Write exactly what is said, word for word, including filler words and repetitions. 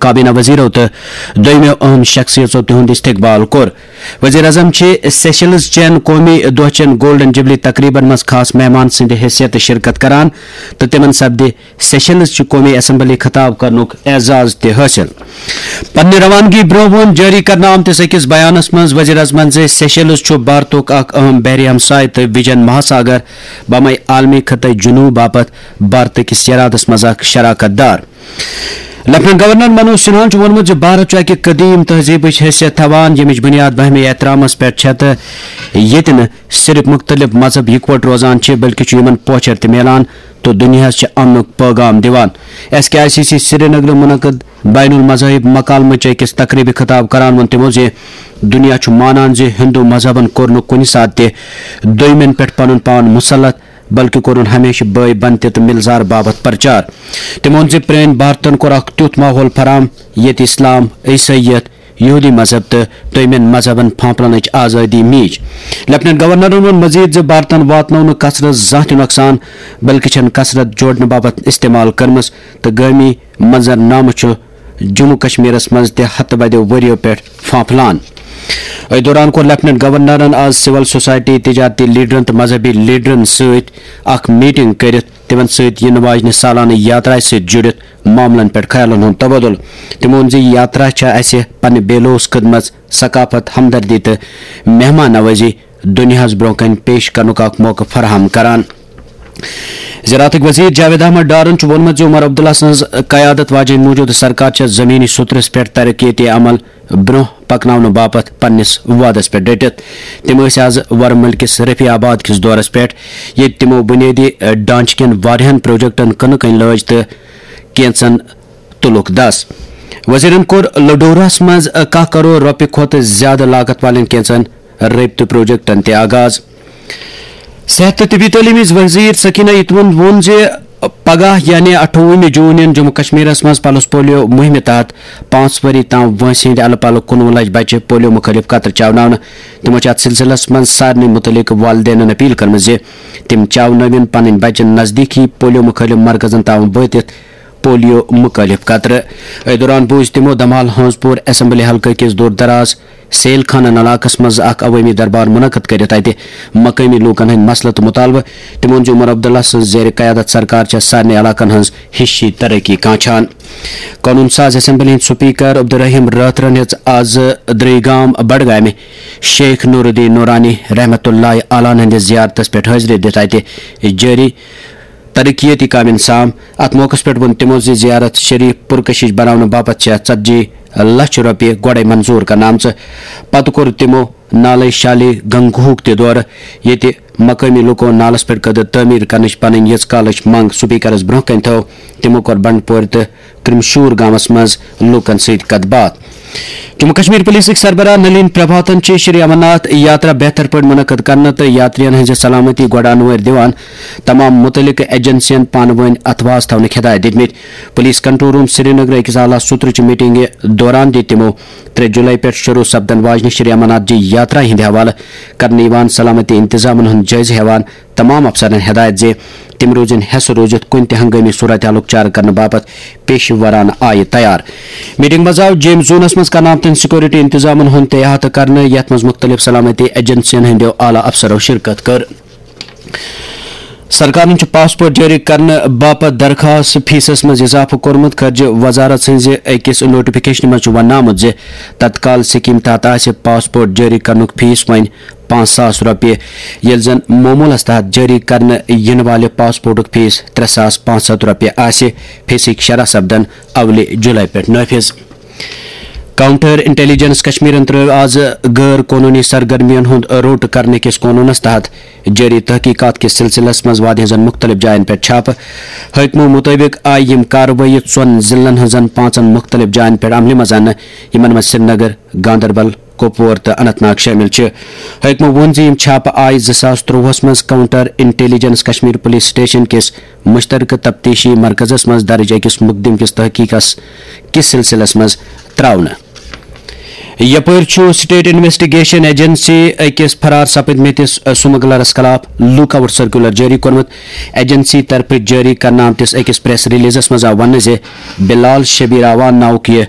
کابینہ وزیرو تہٕ دوٚیمٮ۪و اہم شخصیژو تِہُنٛد استقبال کوٚر۔ وزیر اعظم چھِ سیشلز چٮ۪ن قومی دۄہ چٮ۪ن گولڈن جوبلی تقریبن منٛز خاص مہمان سٕنٛدِ حیثیتہٕ شرکت کران تہٕ تِمن سپدِ سیشلز چہِ قومی اسمبلی خطاب کرنُک اعزاز تہِ حٲصِل۔ پننہِ روانگی برٛونٛہہ ووٚن جٲری کرنہٕ آمتِس أکِس بیانس منٛز وزیر اعظمن زِ سیشلز چھُ بھارتُک اکھ اہم بحری ہمسایہِ تہٕ ویجن مہاساگر بامے عالمی خطے جنوب باپتھ بھارتہٕ کِس ارادس منٛز اکھ شراکت دار۔ لیفٹیننٹ گورنر منوج سنہاہن چھُ ووٚنمُت زِ بھارت چھُ اکہِ قدیم تہذیبٕچ حیثیت تھاوان، ییٚمِچ بنیاد باہمی احترامس پٮ۪ٹھ چھےٚ تہٕ ییٚتہِ نہٕ صرف مختلف مذہب یکوٹہٕ روزان چھِ، بلکہِ چھُ یِمن پوچھر تہِ میلان تہٕ دُنیاہس چھِ امنُک پٲغام دِوان۔ S K I C C سرینگرٕ منعقد بین المذاہب مکالمہٕ چہِ أکِس تقریبہِ خطاب کران ووٚن تِمو زِ دُنیا چھُ مانان زِ ہندو مذہبن کوٚر نہٕ کُنہِ ساتہٕ تہِ دوٚیمٮ۪ن پٮ۪ٹھ پنُن پان مسلط، بلکہِ کوٚرُن ہمیشہٕ بٲے بنتہِ تہٕ ملزار باپتھ پرچار۔ تٔمۍ ووٚن زِ پرٛٲنۍ بھارتن کوٚر اکھ تیُتھ ماحول فراہم، ییٚتہِ اسلام، عیسائیت، یہودی مذہب تہٕ دوٚیمٮ۪ن مذہبن پھانپھلنٕچ آزٲدی میج۔ لیفٹیننٹ گورنرن ووٚن مزید زِ بھارتن واتنوو نہٕ کثرت زانٛہہ تہِ نۄقصان، بلکہِ چھَن کثرت جوڑنہٕ باپتھ استعمال کٔرمٕژ تہٕ گٲمی منظرنامہٕ چھُ جموں کشمیرس منٛز تہِ ہتہٕ بدیو ؤرِیو پٮ۪ٹھ پھانپھلان۔ أتھۍ دوران کوٚر لیفٹیننٹ گورنرن آز سول سوسائٹی، تجارتی لیڈرن تہٕ مذہبی لیڈرن سۭتۍ اکھ میٹنگ کٔرِتھ تِمن سۭتۍ یِنہٕ واجنہِ سالانہٕ یاترایہِ سۭتۍ جُڑِتھ معاملن پٮ۪ٹھ خیالن ہُنٛد تبادلہٕ۔ تٔمۍ ووٚن زِ یہِ یاترا چھےٚ اسہِ پننہِ بے لوث خدمژ، ثقافت، ہمدردی تہٕ مہمان نوازی دُنیاہس برٛونٛہہ کنہِ پیش کرنُک اکھ موقعہٕ فراہم کران۔ زراعتٕکۍ وزیر جاوید احمد ڈارن چھُ ووٚنمُت زِ عمر عبداللہ سٕنٛز قیادت واجیٚنۍ موجودٕ سرکار چھےٚ زمینی سطرس پٮ۪ٹھ ترقیتی عمل برٛونٛہہ پکناونہٕ باپتھ پننِس وعدس پٮ۪ٹھ ڈٔٹِتھ۔ تِم ٲسۍ از ورمُل کِس رفیع آباد کِس دورس پٮ۪ٹھ، ییٚتہِ تِمو بنیٲدی ڈھانچہٕ کٮ۪ن واریاہن پروجیکٹن کٕنہٕ کٔنۍ لٲج تہٕ کینژن تُلُکھ دَس۔ وزیرن کوٚر لڈورہس منٛز کاہ کرور رۄپیہِ کھۄتہٕ زیادٕ لاگت والٮ۪ن کینژن رٲبطہٕ پروجیکٹن تہِ آغاز۔ صحت تہٕ طبی تعلیمٕچ وزیر سکینہ اتوَن ووٚن زِ پگاہ یعنی اَٹھووُہمہِ جون یِن جموں کشمیرس منٛز پلس پولیو مُہِمہِ تحت پانٛژھ ؤری تام وٲنٛسہِ ہٕنٛدۍ الہٕ پلہٕ کُنوُہ لچھ بچہِ پولیو مُخٲلف قطرٕ چاوناونہٕ۔ تِمو چھِ اتھ سلسلس منٛز سارنٕے مُتعلق والدینن اپیل کٔرمٕژ زِ تِم چاونٲوِن پنٕنۍ بچہِ نزدیٖکی پولیو مُخٲلف مرکزن تام وٲتِتھ پولیو مُخٲلف قطرٕ۔ أتھۍ دوران بوٗز تِمو دمال ہٲنز پوٗر اسمبلی حلقہٕ کِس دوٗر دراز سیل خانن علاقس منٛز اکھ عوٲمی دربار منعقد کٔرِتھ اتہِ مقٲمی لوٗکن ہٕنٛدۍ مسلہٕ تہٕ مُطالبہٕ۔ تِمو ووٚن زِ عمر عبداللہ سٕنٛز زیر قیادت سرکار چھےٚ سارنٕے علاقن ہٕنٛز ہِشی ترقی کانچھان۔ قونوٗن ساز اسمبلی ہٕنٛدۍ سپیکر عبدالرحیم رٲتھرن ہیٚژ از درٕے گام بڈگامہِ شیخ نور الدین نورانی رحمت اللہ علیہ ہٕنٛدِس زیارتس پٮ۪ٹھ حٲضری دِتھ اتہِ جٲری ترقیتی کامٮ۪ن سام۔ اتھ موقعس پٮ۪ٹھ ووٚن تِمو زِ زیارت شریف پُرکشش بناونہٕ باپتھ چھےٚ ژتجی لچھ رۄپیہِ گۄڈے منظوٗر کرنہٕ آمژٕ۔ پتہٕ کوٚر تِمو نالے شالی گنگوہُک تہِ دورٕ، ییٚتہِ مقٲمی لوٗکو نالس پٮ۪ٹھ قدر تعمیٖر کرنٕچ پنٕنۍ ییٖژ کالٕچ منٛگ سپیکرس برٛونٛہہ کنہِ تھٲو۔ تِمو کوٚر بنڈپورِ تہٕ کرمشور گامس منٛز لوٗکن سۭتۍ کتھ باتھ۔ جموں کشمیر پولیسٕکۍ سربراہ نلین پربھاتن چھِ شری امرناتھ یاترا بہتر پٲٹھۍ منعقد کرنہٕ تہٕ یاترین ہٕنٛزِ سلامتی گۄڈٕ انوٲرۍ دِوان تمام مُتعلقہٕ ایجنسین پانہٕ وٲنۍ اتھواس تھاونٕکۍ ہدایت دِتمٕتۍ۔ پولیس کنٹرول روم سرینگرٕ أکِس اعلیٰ سطرٕچہِ میٹنگہِ دوران دِتۍ تِمو ترٛےٚ جولائی پٮ۪ٹھ شروع سپدن واجنہِ شری امرناتھ جی یاترا ہٕنٛدِ حوالہٕ کرنہٕ یِوان سلامتی انتظامن ہُنٛد جٲیزٕ ہٮ۪وان تمام افسرن ہدایت زِ تِم روزن حیسہٕ روٗزِتھ کُنہِ تہِ ہنگٲمی صورتحالُک چارٕ کرنہٕ باپتھ پیشہٕ ورانہٕ آیہِ تیار۔ میٹنگ منٛز آو جیمز زونس منٛز کرنہٕ آمتٮ۪ن سیکورٹی انتظامن ہُنٛد تہِ احاطہٕ کرنہٕ، یتھ منٛز مُختٔلِف سلامتی ایجنسین ہٕنٛدیو اعلیٰ افسرو شرکت کٔر۔ سرکارن چھُ پاسپورٹ جٲری کرنہٕ باپتھ درخواست فیسس منٛز اضافہٕ کوٚرمُت۔ خارجہ وزارت سٕنٛزِ أکِس نوٹیفکیشنہِ منٛز چھُ وننہٕ آمُت زِ تتکال سکیٖم تحت آسہِ پاسپورٹ جٲری کرنُک فیس وۄنۍ پانٛژھ ساس رۄپیہِ، ییٚلہِ زن معموٗلس تحت جٲری کرنہٕ یِنہٕ والہِ پاسپورٹُک فیس ترٛےٚ ساس پانٛژھ ہتھ رۄپیہِ آسہِ۔ فیسٕکۍ شرح سپدن اولہِ جولائی پٮ۪ٹھ نٲفذ۔ کاؤنٹر انٹیلیجنس کشمیرن ترٲو آز غٲر قونوٗنی سرگرمیَن ہُنٛد روٚٹ کرنہٕ کِس قونوٗنس تحت جٲری تحقیقات کِس سلسلس منٛز وادی ہٕنٛزن مُختٔلِف جاین پٮ۪ٹھ چھاپہٕ۔ حٲکمو مُطٲبِق آیہِ یِم کاروٲیی ژۄن ضلعن ہٕنٛزن پانٛژن مُختٔلِف جاین پٮ۪ٹھ عملہِ منٛز اننہٕ، یِمن منٛز سرینگر، گاندربل، کۄپوور تہٕ اننت ناگ شٲمِل چھِ۔ حٲکمو ووٚن زِ یِم چھاپہٕ آیہِ زٕ ساس ترٛۆہَس منٛز counter intelligence Kashmir police station کِس مشترکہٕ تفتیشی مرکزس منٛز درج أکِس مقدمہٕ کِس تحقیقس کِس سلسلس منٛز ترٛاونہٕ۔ یپٲرۍ چھُ سٹیٹ انویسٹیگیشن ایجنسی أکِس فرار سپٕدمٕتِس سمگلرس خلاف لک آؤٹ سرکولر جٲری کوٚرمُت۔ ایجنسی طرفہٕ جٲری کرنہٕ آمتِس أکِس پریس ریلیزس منٛز آو وننہٕ زِ بلال شبیر اعوان ناوُک یہِ